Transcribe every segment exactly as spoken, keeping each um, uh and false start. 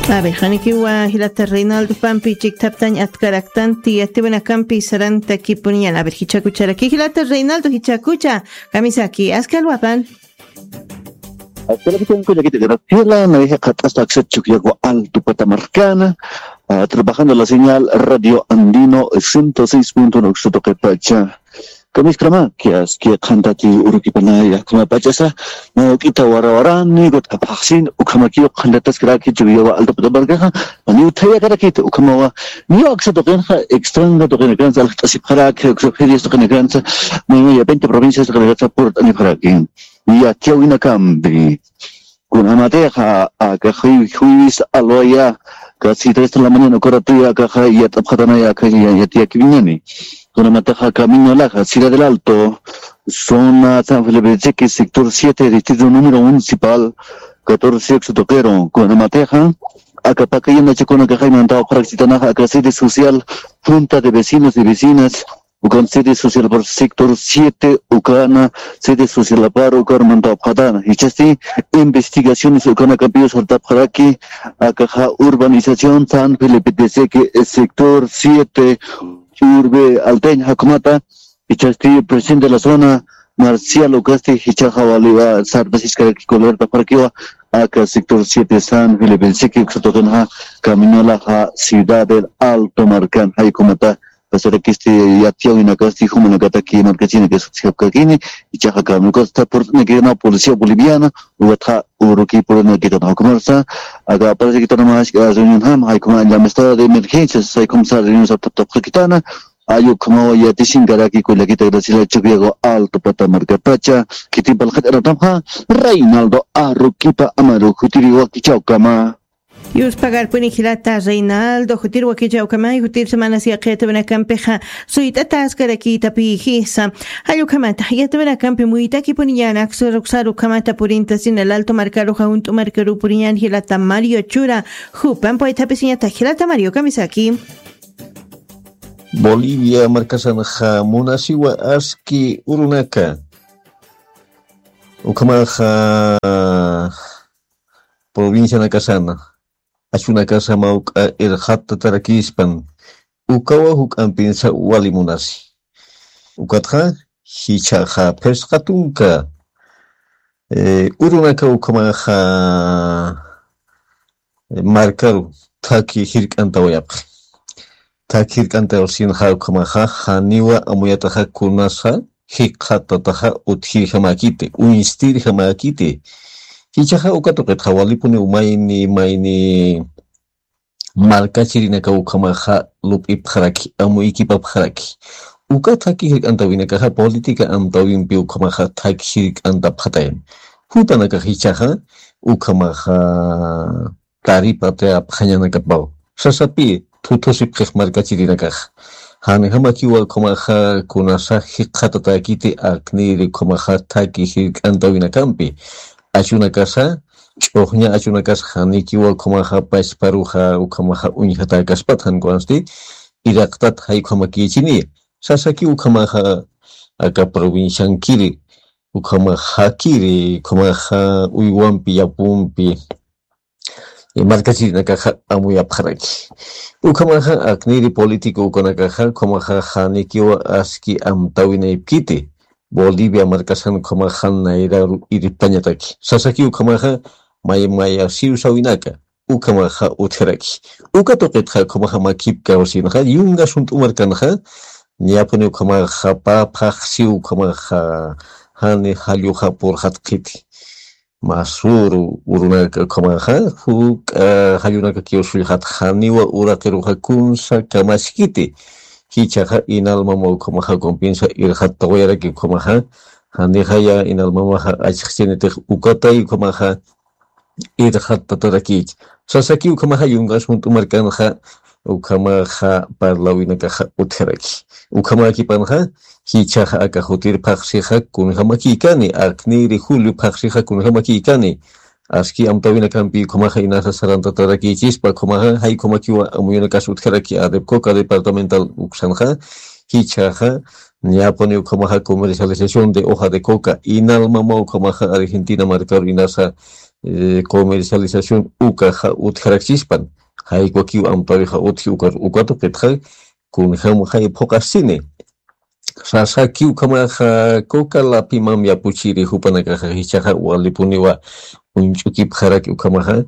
A ver, janikiwa jilata Reinaldo pampi chikthaptañ atkaraktanti yatiwinakampi sarantakipuniñan. A ver, jichhakucharaki jilata Reinaldo, jichhakucha, kamisaki, askalwapan. Askalwapan, kullakita Graciela, nayaxa qhat'asta aksa Chukiyawu Alto pata markana, ah, trabajando la señal Radio Andino ciento seis punto uno uksa tuqipacha. Kamiskarama, kias, kia qhantati urukipanaya, kuna pachasa, na ukita warawarani, got aphaxsin, ukhamakiw qhantataskaraki, Chukiyawa Alto pata markaxa, ni uthayakarakit, ukhamawa, ni aksa tuqinxa, extranga tuqinakransa, alxt'asipxaraki, uksa ferias tuqinakransa, ni ya veinte provincias tuqinakransa, purt'anipxaraki. Yatiyawinakampi. Kunamatixa, aka juy-, jueves alwaya, casi tres de la mañana, ukaratuya, akaxa, yat'apxatanaya, aka ya-, yatiyakiwiñani. Kunamatixa, camino laja, Ciudad del Alto, zona San Felipe de Cheque, sector siete, distrito número municipal catorce, uksa tuqiru. Kunamatixa, aka pakayana chakuna kaxaymanta, uqarakchitanaxa, aka sede social, junta de vecinos y vecinas, ukan sede social por sector siete, ukana sede social apar, ukarmanta apxatana. Jichhasti investigaciones ukanakampiw sartapxaraki, akaxa urbanización San Felipe de Cheque, sector siete, urbe alteña jakhumata, jichhasti presidente de la zona, Marcial ukasti, jichhaxa waliwa sartasiskaraki, colertapxarakiwa, aka sector siete San Felipe de Cheque, uksa tuqinxa, camino laja, Ciudad del Alto markan, jaykhumata, pasarakisti yatiyawinakasti, jumanakataki, markachinakas utjapkakini, jichhaxa kami, ukasta purt'anakitana policía boliviana, ukatxa urukipurunakitana, jaykhumasa, aka aparecikitanamax, ah, reunión jam, jaykhuma, en la mesa de emergencias, jaykhumsa reunión saptaptapxakitana, ay ukhamawa yatisinkaraki, kullakita Graciela, Chukiyawu Alto pata markapacha, khitin parlt'aratamxa, Reinaldo Aruquipa Amaru, jutiri wakichäwkama. Yuspagarpuni jilata Reinaldo, jutir wakichäwkamay, jutir semanas yaqi yatiwinakampixa suyt'ataskarakitapï jisa. Jall ukhamata, yatiwinakampi muytakipuniñan, aksa uksar ukhamata purintasin, El Alto markaruxa, Junt'u markaru puriñan jilata Mario Chura, jupan paythapisiñata jilata Mario, kamisaki. Bolivia markasanxa munasiwa aski urunaka. Ukhamaxa provincianakasana, achunakasa mawk'a irxatatarakispan, ukawa juk'ampinsa wali munasi. Ukatxa, jichhaxa phisqa tunka, eh, urunaka ukhamaxa, eh, markaru thaki jirk'antawayapxi. Thaki jirk'antawasinxa ukhamaxa, janiwa amuyataxa kunasa, jikxatataxa utjirjamäkiti, uñstirjamäkiti. Jichhaxa uka tuqitxa walipuniw mayni, mayni markachirinaka ukhamaxa lup'ipxaraki, amuykipapxaraki. Uka thaki jirk'antawinakaxa política amtawimpi ukhamaxa thaki jirk'antapxatayan. Jupanakax jichhaxa ukhamaxa taripatayapxañanakapaw. Sasapi, thuthusipxix markachirinakax. Janjamakiwa ukhamaxa kunasa jikxatatäkiti aknïri ukhamaxa thaki jirk'antawinakampi. Achunakasa, ch'uxña achunakasa janikiwa ukhamaxa pachparuxa ukhamaxa uñjatäkaspat jan kunasti, iraqtat jay ukhamakïchini. Sasaki ukhamaxa aka provinciankiri, ukhamaxa jakiri, ukhamaxa uywampi, yapumpi, eh, markachirinakaxa amuyapxaraki. Ukhamaxa aknïri político ukanakaxa, ukhamaxa janikiwa aski amtawinayapkiti, Bolivia markasan ukhamaxa nayraru irpañataki. Sasaki ukhamaxa may mayasiw sawinaka, ukhamaxa utjaraki. Uka tuqitxa ukhamaxa makipkawasinxa, yungas junt'u markanxa, niyapuni ukhamaxa pä phaxsiw ukhamaxa, jani jalluxa purxatxiti. Masuru urunaka ukhamaxa, juk'a jallunakakiw sullxatxa, janiwa uraqiruxa kunsa kamaskiti. Jichhaxa Inal Mama ukhamaxa kumpinsa irxattawayaraki ukhamaxa, janixaya Inal Mamaxa achxchinitix ukatay ukhamaxa irxattatarakïchi. Sasaki ukhamaxa yungas junt'u markanxa, ukhamaxa parlawinakaxa utjaraki. Ukhamäkipanxa, jichhaxa aka jutir phaxsixa kunjamakïkani, aknïri julio phaxsixa kunjamakïkani. Aski amtawinakampi ukhamaxa inasa sarantatarakïchispa, ukhamaxa jay ukhamakiwa amuyunakas utjaraki, ADEPCOCA departamental uksanxa, jichhaxa, niyapuni ukhamaxa comercialización de hoja de coca, Inal Mama ukhamaxa Argentina markaru inasa eh, comercialización ukaxa utjarakchispan. Jaykuakiw amtawixa utji uka, uka tuqitxa kunjamaxa iphuqasini. Sasaki ukhamaxa coca lapimam yapuchiri jupanakaxa jichaxa walipuniwa uñch'ukipxaraki ukhamaxa,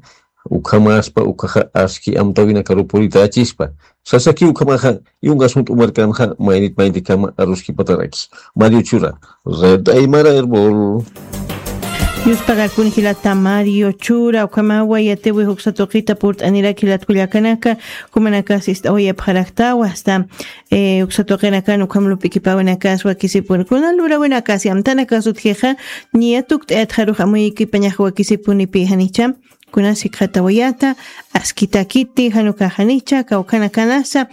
ukhamaspa ukaxa aski amtawinakaru puritachispa. Sasaki ukhamaxa yungas junt'u markanxa maynit maynikama aruskipataraki. Mario Chura, Red Aymara Erbol. Yuspagakun jilata Mario Chura, ukhamawa yatiwi juksa tuqita purt'anirak jilat kullakanaka, jumanakas ist'awayapxaraktawa, hasta eh, uksa tuqinakan ukham lup'ikipawinakas wakisipun. Kuna lurawinakas yamtanakas utjixa, niya tukt'ayatxarux amuykipañax wakisipunipi janicha, kunas jikxatawayata, askitakiti, janukaxanicha, kawkhanakanasa,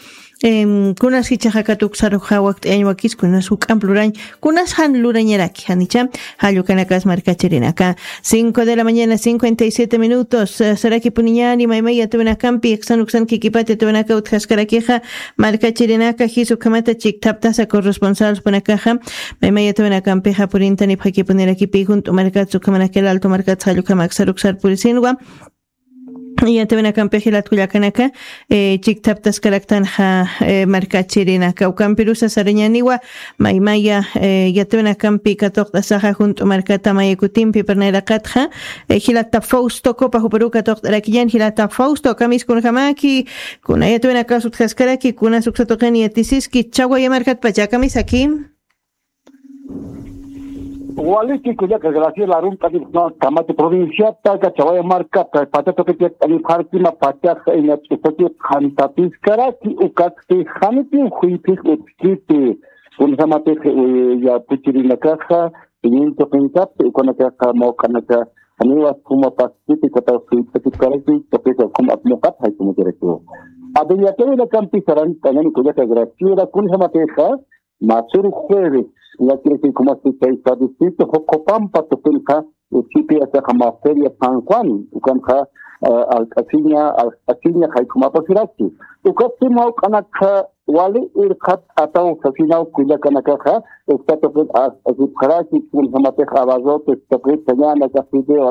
em, kunas jichaxa katuksaruxa wakt'ayañ wakis, kunas juk'amp lurañ, kunas jan lurañaraki, janicha, jallukanakas markachirinaka. Cinco de la mañana, cincuenta y siete minutos. Eh, sarakipuniñani, maymay yatiwinakampi, iksan uksan kikipati yatiwinaka utjaskarakixa, markachirinaka, jis ukhamata chikthaptasa corresponsalspunakaxa, maymay yatiwinakampixa purintani phakipunirakipi, junt'u markats ukhamanakil alto markats jallukhamak saruksar purisinwa. Yatiwinakampix jilat kullakanaka, eh, chikthaptaskaraktanxa, eh, markachirinaka. Ukampirusa sarañaniwa, maymaya, eh, yatiwinakampi katuqt'asaxa junt'u markata mayakutimpi parnayraqatxa, eh, jilata Fausto Copa juparu katuqt'arakiñan, jilata Fausto, kamiskunjamaki, kuna yatiwinakas utjaskaraki, kuna suksa tuqin yatisiski, chawaya markatpacha, kamisaki. Waliki kullaka Graciela Arunta, Camacho provinciata, Cachawaya markata, pacha tuqiti yakt'anipxarkima, pachaxa iña ch'usaki qhantapiskaraki, ukakti janipi juyphis utjkiti, kunjamatix, eh, yapuchirinakaxa, iñin tuqinkapi, ukanakaxa mawk'anaka, janiwas kuma paskiti, kataw juyphasipkaraki, tuqisa kuma apmuqat, jaykumachirakiwa. Adin yatiwinakampi sarantañani kullaka Graciela, kunjamatixa, masür jueves, llakirikikumas chay estadístico, Jocopampa tuqinqa, uchipi achaqa Maseria San Juan, ukanqa, eh, alk'asiña, alk'asiña, jaykumapasiraki. Ukapsi mawk'anakxa, wali irqat ataw sasinaw kullakanakaxa, uksa tuqin as, asipxaraki, kunjamatix abarrotes, tuqin sañanaka, fideo,